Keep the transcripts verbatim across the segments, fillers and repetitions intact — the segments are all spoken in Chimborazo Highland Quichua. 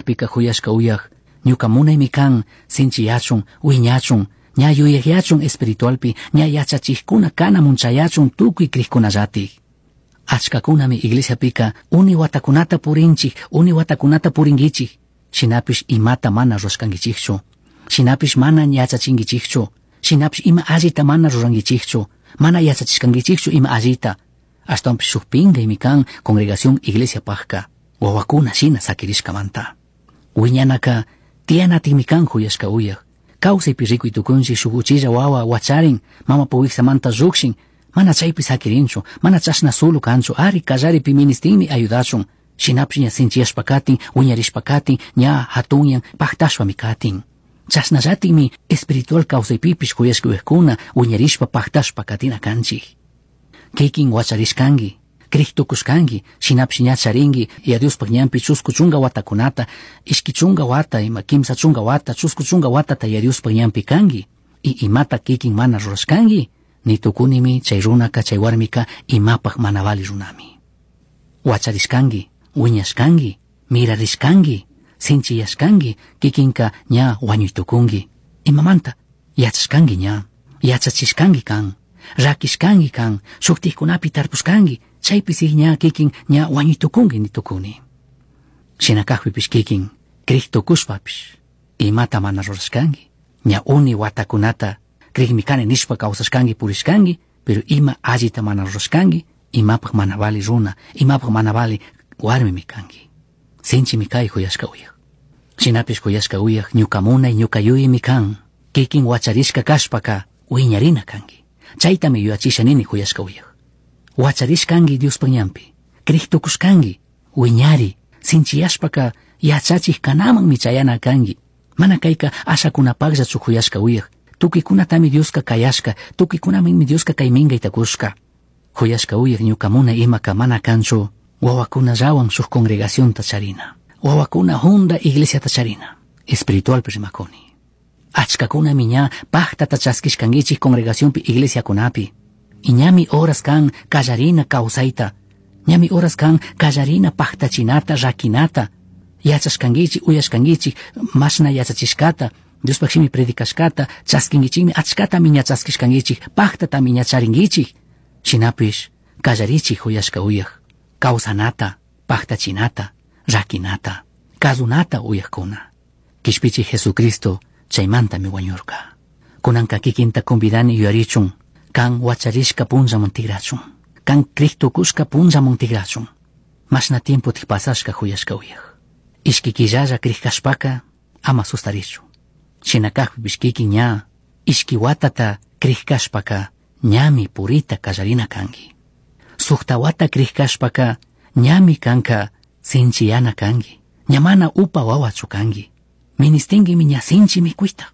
kajpika juyashka uyaj, ñuka munaymi kan sinchiyachun, wiñachun, ña yuyayachun espiritualpi, ña yachachijkuna kanamun chayachun tukuy crijkunallatik. Achkakunami iglesiapika uni watakunata purinchik, uni watakunata purinkichik. Shinapish imata mana rurashkankichikchu. Shinapish mana yachachinkichikchu. Shinapish ima allita mana rurankichikchu. Mana yachachishkankichikchu ima allita. Ashtawanpish shuk pinkaymi kan congregación iglesia pajka. Wawakuna shina sakirishkamanta. Wiñanaka tiyanatikmi kan juyashka uyaj. Kawsaypi rikuy tukunchik shuk uchilla wawa wacharin, mama wiksamanta llukshin, mana chaypi sakirinchu, mana chashna solo kanchu, ari kallaripi ministinmi ayudachun. Shinapish ña sinchiyashpa katin, wiñarishpa katin, ña hatunyan paktashpami katin. Chashnallatikmi espiritual kawsaypipish juyashka uyajkuna wiñarishpa paktashpa katina kanchik. Kikin wacharishkanki, crij tukushkanki, shinapish ña charinki, ya Diospaj ñanpi chusku chunka watakunata, ishki chunka wata, ima kimsa chunka wata, chusku chunka watata ya Diospaj ñanpi kanki. Y imata kikin mana rurashkanki, ni tukunimi chay runaka chay warmika imapaj mana vali runami. Wacharishkanki, wiñashkanki, mirarishkanki, sinchiyashkanki, kikinka ña wañuytukunki. Imamanta, yachashkanki ña, yachachishkanki kan, rakishkanki kan, shuktikkunapi tarpushkanki, chaypi ña kikin ña wañuytukunki ni tukuni. Shina kajpipish kikin, crij tukushpapish, imata mana rurashkanki, ña uni watakunata crijmi kani nishpa kawsashkanki purishkanki, pero ima allita mana rurashkanki, imapaj mana vali runa, imapaj mana vali warmimi kanki. Sinchimi kay juyashka uyaj. Shinapish juyashka uyaj ñuka munay ñuka yuyaymi kan, kikin wacharishka kashpaka wiñarina kanki. Chaytami yuyachisha nini juyashka uyaj. Wacharishkanki Diospaj ñanpi, crij tukushkanki, wiñari, sinchiyashpaka yachachij kanamanmi chayana kanki. Mana kayka ashakunapakllachu juyashka uyaj. Tukuykunatami Dioska kayashka, tukuykunamanmi Dioska kay minkayta kushka. Juyashka uyaj ñuka munay imaka mana kanchu, wawakunallawan shuk congregacionta charina. Wawakuna junda iglesiata charina. Espiritualpi rimakuni. Achkakunami ña paktata chaskishkankichik congregacionpi iglesiakunapi. Y ñami horas kan kallarina kawsayta. Ñami horas kan kallarina paktachinata, rakinata. Yachashkankichik, uyashkankichik, mashna yachachishkata, Diospaj shimi predicashkata, chaskinkichikmi, achkatami ña chaskishkankichik, paktatami ña charinkichik. Shinapish, kallarichik juyashka uyaj, kawsanata, paktachinata, rakinata, kazunata uyajkuna. Kishpichik Jesucristo chaymantami wañurka. Kunanka kikinta convidani yuyarichun, kan wacharishka punllaman tigrachun, kan crij tukushka punllaman tigrachun. Mashna tiempo tik pasashka juyashka uyaj. Ishki killalla crij kashpaka ama sustarichu. Shina kajpipish kikin ña, ishki watata crij kashpaka ñami purita kallarina kanki. Sukta wata crij kashpaka ñami kanka sinchiyana kanki. Ña mana upa wawachu kanki. Ministinkimi ña sinchi mikuyta.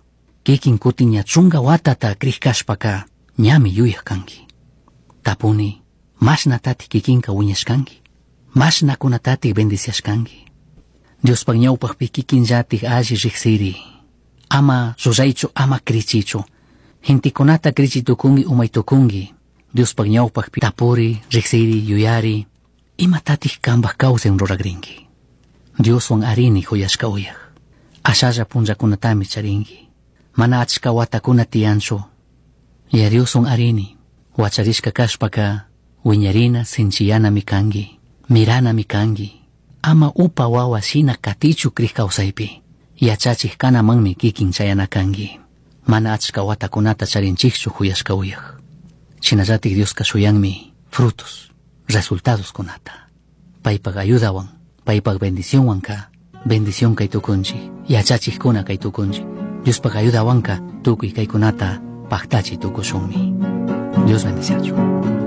Kikin kutin ña chunka watata crij kashpaka ñami yuyaj kanki. Tapuni, mashnatatik kikinka wiñashkanki. Mashnakunatatik bendiciashkanki. Diospaj ñawpajpi kikinllatik alli riksiri. Ama ruraychu, ama krichichu. Gentekunata krichi tukunki, umay tukunki. Diospaj ñawpajpi tapuri, riksiri, yuyari. Imatatik kanpaj kawsaywan ruragrinki. Dioswan arini juyashka uyaj. Ashalla punllakunatami charinki. Mana achka watakuna tiyanchu. Ya Dioswan arini. Wacharishka kashpaka wiñarina sinchiyanami kanki. Miranami kanki. Ama upa wawa shina katichu crij kawsaypi. Yachachik kanamanmi kikin chayana kanki. Mana achka watakunata charinchikchu juyashka uyaj. Shinallatik Dioska shuyanmi frutos, resultados kunata. Paypak ayudawan, paypak bendicionwanka, bendición kay tukunchik, yachachikkuna kay tukunchik. Diospaj ayudawanka tukuy kaykunata paktachi tukushunmi. Dios bendiciachu.